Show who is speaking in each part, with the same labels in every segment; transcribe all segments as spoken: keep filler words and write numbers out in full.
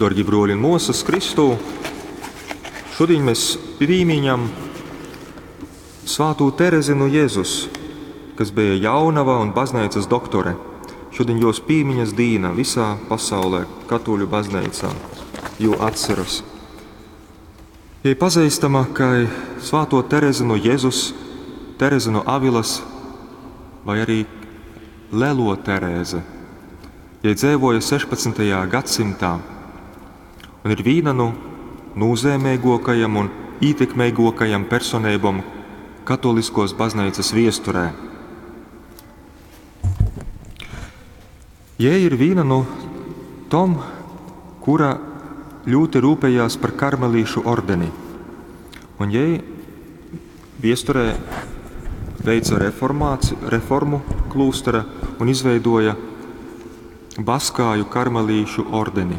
Speaker 1: Dorgi bruoļi un muosys Kristū, šodien mēs pīmiņam Svātū Terezi nu Jezus, kas bija jaunava un baznīcas doktore. Šodien jos pīmiņas dīna visā pasaulē, katoļu baznīcā, jū atceras. Jai pazīstama kā Svāto Terezi no Jezus, Terezi no Avilas vai arī Lelo Terēze. Jai dzīvoja sešpadsmitajā gadsimtā un ir viena no nozīmīgākajām un ietekmīgākajām personībām katoliskos baznīcas viesturē. Jai ir viena no tom, kura ļoti rūpējās par karmelīšu ordeni. Un jai viesturē veica reformāci-, reformu klūstera un izveidoja Baskāju karmelīšu ordeni.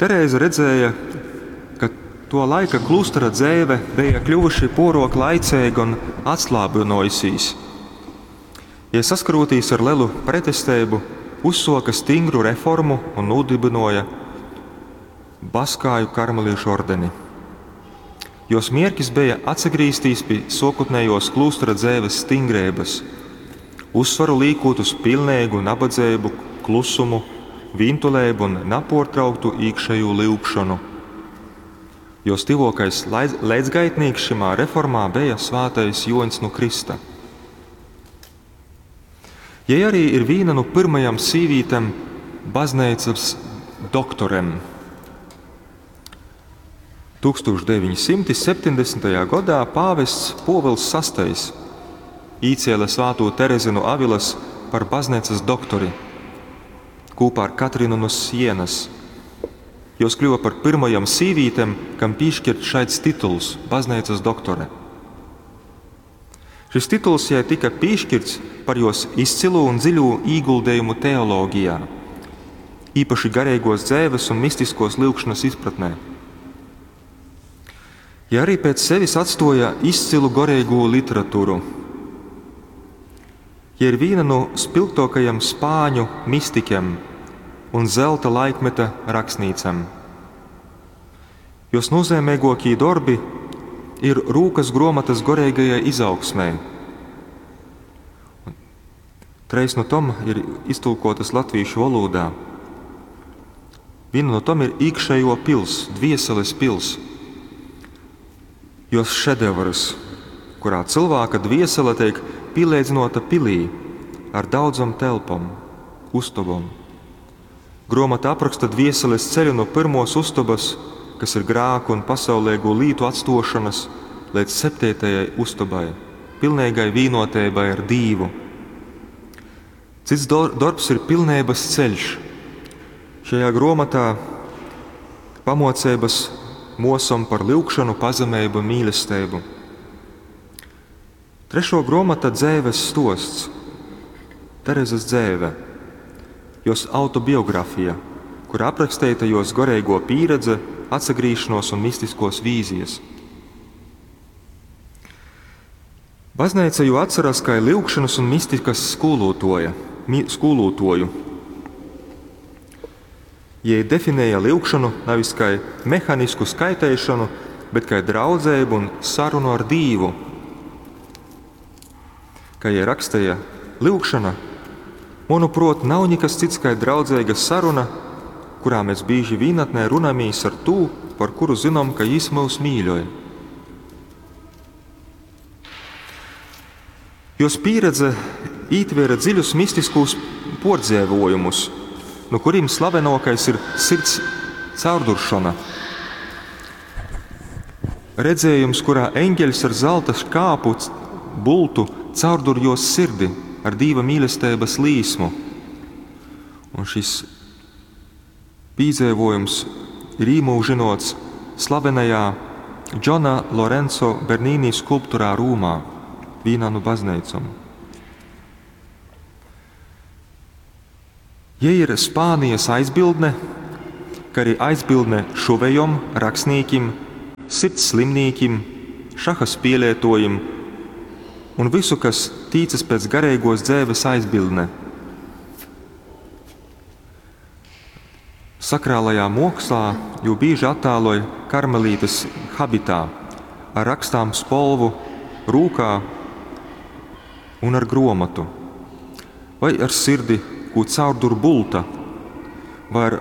Speaker 1: Terēze redzēja, ka to laika klūstera dzēve bija kļuvuši porok laicēga un atslābinojusīs. Ja saskarotīs ar lielu pretestību, uzsoka stingru reformu un nodibinoja Baskāju karmelīšu ordeni. Jos mierkis bija atsagrīztīs pie sokutnējos klūstera dzēves stingrības, uzsvaru līkot uz pilnīgu nabadzību, klusumu, vīntulēbu un naportrauktu iekšējo lyugšanu. Jos tivokais laidz-, leidzgaitnīks šimā reformā bija Svātais Joņs no Krista. Jai arī ir viena no pirmajām sīvītēm baznīcas doktorem. tūkstoš deviņi simti septiņdesmitajā gadā pāvests Pōvils Sastais īcēla Svāto Terezi no Avilas par baznīcas doktori kopā ar Katrinu no Sienas. Jos kļuva par pirmajām sīvītēm, kam piešķirt šāds tituls – baznīcas doktore. Šis tituls jai tika piešķirts par jos izcilu un dziļo ieguldījumu teoloģijā, īpaši garīgos dzēves un mistiskos lyugšanas izpratnē. Ja arī pēc sevis atstoja izcilu garīgo literatūru. Ja ir viena no spilgtākajiem spāņu mistikiem un zelta laikmeta rakstnīcam. Jos nozīmīgākie darbi ir rūkas grāmatas garīgajai izaugsmē. Treis no tom ir iztulkotas latviešu valodā. Viena no tom ir iekšējo pils, dvieseles pils. Jos šedevrs, kurā cilvēka dviesele tiek pielīdzinota pilī ar daudzom telpom, ustobom. Grāmata apraksta dvieseles ceļu no pirmos ustobas, kas ir grāku un pasaulīgo lītu atstošanas, līdz septītajai ustobai, pilnīgai vienotībai ar Dievu. Cits dor-, darbs ir pilnības ceļš. Šajā grāmatā pamocības mosam par lyugšanu, pazemību un mīlestību. Trešo grāmata dzēves stosts, Terezes dzēve, jos autobiografija, kur aprakstīta jos garīgo pieredze, atsagrīšanos un mistiskos vīzijas. Baznīca jau atceras kā lyugšanas un mistikas skolotoja, mi-, skolotoju. Jai definēja lyugšanu nevis kā mehanisku skaitēšanu, bet kā draudzību un sarunu ar Dievu. Kā jai rakstīja, lyugšana, manuprāt, nav nekas cits kā draudzīga saruna, kurā mēs bieži vienatnē runāmies ar tū, par kuru zinām, ka jis mūs mīļoja. Jos pieredze ītvēra dziļus mistiskus pordzēvojumus, no kuriem slavenākais ir sirds caurduršana. Redzējums, kurā eņģeļs ar zelta škāpu bultu caurdur jos sirdi ar Dieva mīlestības līsmu. Un šis pīdzēvojums ir īmūžinots slavenajā Džona Lorenzo Bernini skulptūrā Rūmā, vienā no baznīcām. Ja ir Spānijas aizbildne, kā arī aizbildne šuvejom, rakstnīkim, sirds slimnīkim, šaha spēlētojim un visu, kas tīcas pēc garīgos dzēves aizbildne. Sakrālajā mokslā jū bīži attāloj karmelītes habitā, ar rakstām spolvu rūkā un ar gruomotu, vai ar sirdi, kū caurdur bulta, vai ar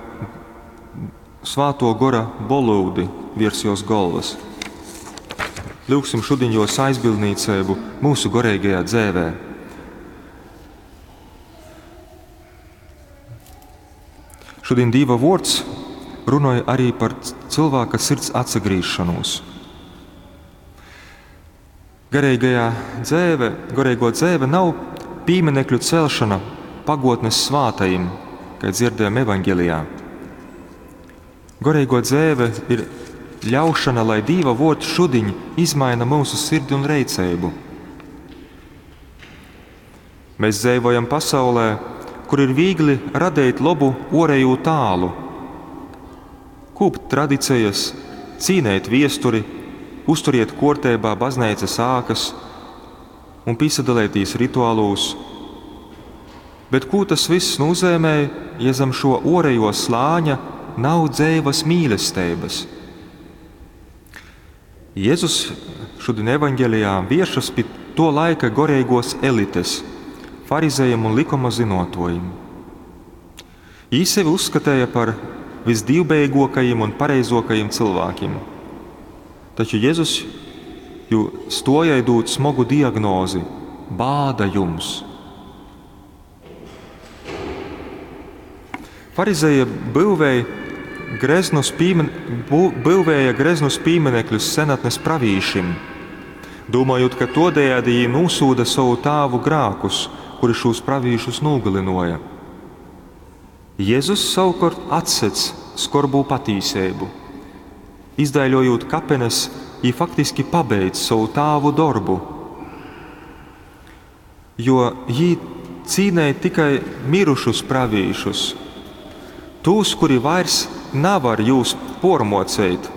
Speaker 1: svāto gora bolūdi viers jos golvas. Lūgsim šodien jos aizbildnīcību mūsu goreigajā dzēvē. Šodien Dīva vords runoja arī par cilvēka sirds atsagrīšanos. Garīgajā dzēve, garīgo dzēve nav pieminekļu celšana pagotnes svātajim, kā dzirdējam evaņģelijā. Garīgo dzēve ir ļaušana, lai Dīva vords šudiņ izmaina mūsu sirdi un reiceibu. Mēs dzīvojam pasaulē, kur ir viegli radīt labu orēju tālu, kūpt tradicijas, cīnēt viesturi, uzturiet kortībā baznīcas ākas un piesadalētīs rituālūs. Bet ko tas viss nozīmē, ja zem šo orējo slāņa nav dzēvas mīlestības? Jēzus šodien evaņģelijā viešas pie to laika goreigos elites, farizējiem un likuma zinotojiem. Jī sevi uzskatīja par visdīvbeigākajiem un pareizākajiem cilvēkiem. Taču Jēzus jū stojai dūt smogu diagnozi – bāda jums. Farizēja būvēja greznus, pīmen, bū, būvēja greznus pieminekļus senatnes pravīšim, domājot, ka todējādi jī nūsūda savu tāvu grākus, kuri šos pravīšus nogalinoja. Jēzus savukārt atsedz skorbū patīsību. Izdaiļojot kapenes, jī faktiski pabeidz savu tāvu darbu, jo jī cīnēja tikai mirušus pravīšus, tūs, kuri vairs navar jūs pormocēt,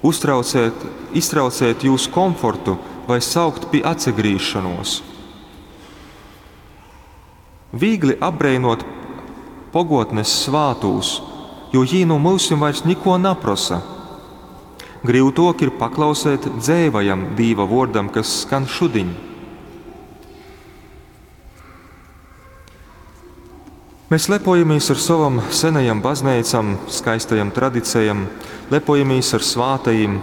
Speaker 1: uztraucēt, iztraucēt jūs komfortu vai saukt pie atsagrīšanos. Viegli apbreinot pogotnes svātūs, jo jī no mūsim vairs niko naprasa. Grīvtok ir paklausēt dzēvajam Dīva vordam, kas skan šudiņ. Mēs lepojamies ar savam senajam baznīcam, skaistajam tradicijam, lepojamies ar svātajiem,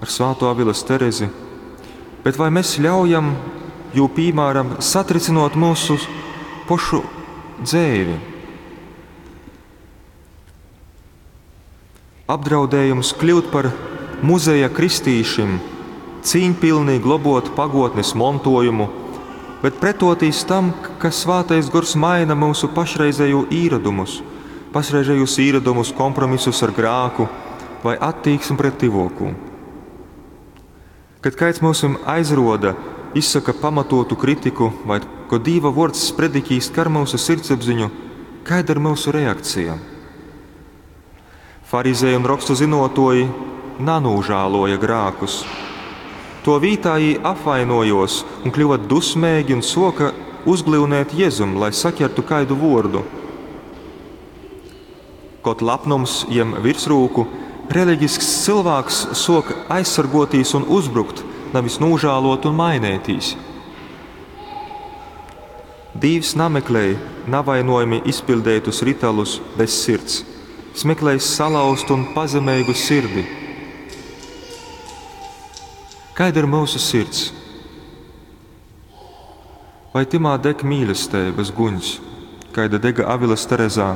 Speaker 1: ar svāto Avilas Terezi, bet vai mēs ļaujam jū piemēram satricinot mūsu pošu dzēvi? Apdraudējums kļūt par muzeja kristīšim, cīņpilnī globot pagotnes montojumu, bet pretotīs tam, ka svātais gors maina mūsu pašreizējo īradumus, pašreizējos īradumus, kompromisus ar grāku vai attieksmi pret tivokū. Kad kāds mūsim aizroda, izsaka pamatotu kritiku vai ko Dīva vords sprediķīs kar mūsu sirdsapziņu, kāda ir mūsu reakcija? Farizēji un rakstu zinotoji nanūžāloja grākus. To vītā jī apvainojos un kļuva dusmīgi un soka uzglīvnēt Jēzum, lai saķertu kaidu vordu. Kot lapnums jem virsrūku, reliģisks cilvēks sok aizsargotīs un uzbrukt, nevis nūžālot un mainētīs. Dīvs nameklēja navainojami izpildētus rituālus bez sirds. Jis meklēja salauztu un pazemīgu sirdi. Kāda ir mūsu sirds? Vai timā deg mīlestības guņs, kāda dega Avilas Terezā,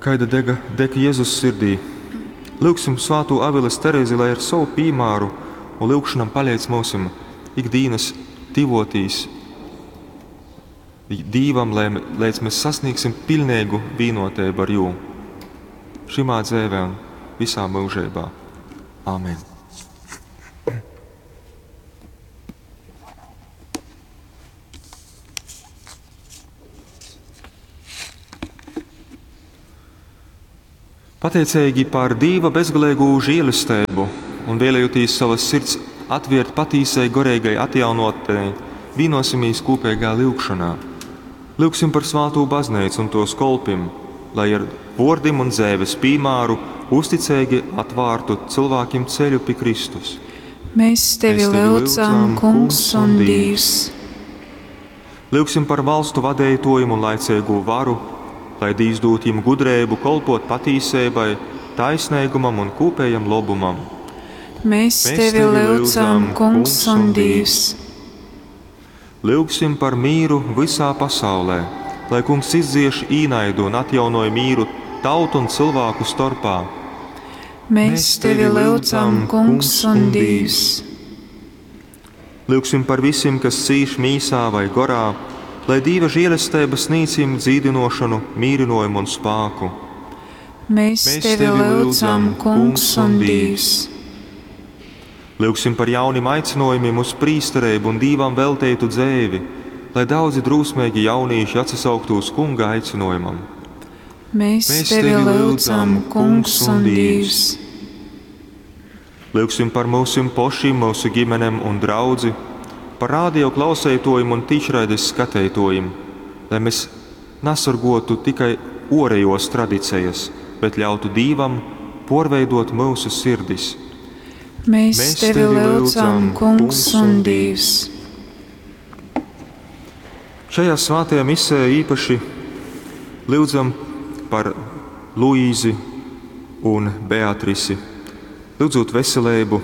Speaker 1: kāda dega, deg Jēzus sirdī? Lūgsim svāto Avilas Terezi, lai ar savu piemēru un lūgšanam paliec mūsim ikdienas tivotīs Dīvam, lai, lai mēs sasniegsim pilnīgu vienotību ar jū. Šimā dzēvē un visā mūžībā. Āmen. Pateicīgi par Dīva bezgalīgo žēlastību un vēlējoties savas sirds atvērt patīsai gorīgai atjaunotnei, vienosimies kopīgā lūgšanā. Lūgsim par svāto baznīcu un tos kolpim, lai ar vuordim un dzeives pīmāru uzticeigi atvārtu cylvākim ceļu pi Kristus.
Speaker 2: Mēs tevi
Speaker 1: Mēs tevi
Speaker 2: lyudzam,
Speaker 1: lyudzam,
Speaker 2: Kungs un Dīvs.
Speaker 1: Lyugsim par valstu vadeituojim un laiceigū varu, lai Dīvs dūd jim gudreibu kolpot patīseibai, taisneigumam un kūpējam lobumam.
Speaker 2: Mēs
Speaker 1: Mēs
Speaker 2: tevi lyudzam, Kungs un Dīvs.
Speaker 1: Lyugsim par mīru visā pasaulē, lai Kungs izdzieš īnaidu un atjaunoj mīru tautu un cilvēku storpā.
Speaker 2: Mēs tevi lyudzam, Kungs un Dīvs.
Speaker 1: Lyugsim par visiem, kas cīš mīsā vai gorā, lai Dieva žēlestība sniedz jim dzīdinošanu, mīrinājumu un spāku.
Speaker 2: Mēs tevi lyudzam, Kungs un Dīvs.
Speaker 1: Lyugsim par jaunim aicinājumiem uz prīstereibu un Dīvam velteitu dzēvi, lai daudzi drūsmeigi jaunīši atsasauktu uz Kunga aicinājumam.
Speaker 2: Mēs
Speaker 1: Mēs
Speaker 2: tevi lyudzam, Kungs un Dīvs.
Speaker 1: Lyugsim par mūsim pošim, mūsu ģimenēm un draudzi, par radio klausētojiem un tīšraides skatētojiem, lai mēs nesargotu tikai orējos tradicijas, bet ļautu Dīvam porveidot mūsu sirdis.
Speaker 2: Mēs
Speaker 1: Mēs
Speaker 2: tevi lyudzam, Kungs un Dīvs.
Speaker 1: Šajā svētajā misē īpaši lūdzam par Luīzi un Beatrisi, lūdzot veselību,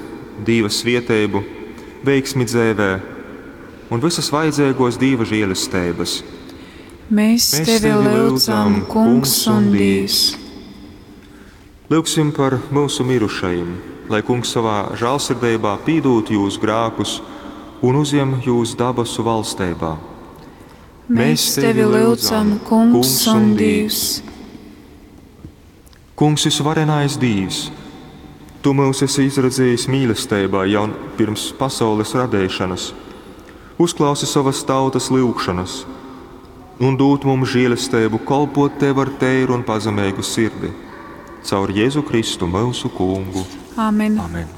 Speaker 1: Dieva svieteibu, veiksmi dzēvē un visas vajadzīgos Dieva žēlestības.
Speaker 2: Mēs
Speaker 1: Mēs
Speaker 2: tevi lyudzam, Kungs un Dīvs.
Speaker 1: Lūgsim par mūsu mirušajiem, lai Kungs savā žēlsirdībā pīdūt jūs grākus un uzjem jūs dabasu valstībā.
Speaker 2: Mēs tevi lyudzam, Kungs un Dīvs.
Speaker 1: Kungs, visvarenais Dīvs, Tu mūs esi izredzējis mīlestībā jau pirms pasaules radīšanas. Uzklausi savas tautas lūgšanas un dod mums žēlastību kolpot Tev ar tēru un pazemīgu sirdi. Caur Jēzu Kristu mūsu Kungu.
Speaker 2: Āmen.
Speaker 1: Amen.